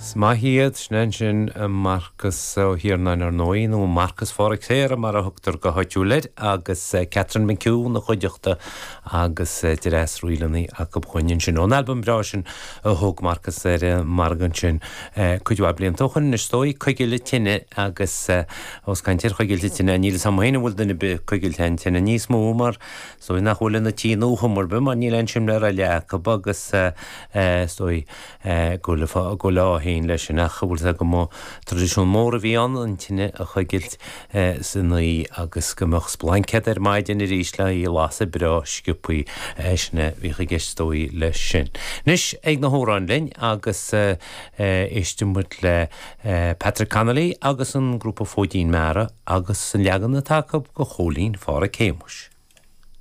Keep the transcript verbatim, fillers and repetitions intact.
Is maith iad sin ansin Marcas Ó hIarnáin ar ndóigh nó Marcas Pháraic Shéara mar a thugtar go háitiúil air agus Catherine McHugh ina chuideachta agus dreas ríleanna acu chugainn ansin. Ón albam breá sin a thug Marcas ar an margadh ansin cuid mhaith blianta ó shin anois is dóigh Coigil na Tine agus ós caint ar choigilt tine níl a fhios agam féin an bhfuil duine ar bith ag coigilt aon tine níos mó mar is dóigh nach bhfuil ina tí nó chuma ar bith mar níl aon simléar eile acu agus is dóigh go bhfuil ádh féin leis sin ach bhfuil go mba traidisiún mór a bhí ann an tine a choigilt san oíche agus go mbeadh splaincéad ar maidin arís le í a lasadh breá sciobthaí sin a bhíodh i gceist is dóigh leis sin. Anois ag na hamhráin linn agus éistfidh muid le Patrick Connolly agus an grúpa Fóidín Meara agus an leagan atá acu de Chóilín Pháraic Shéamuis.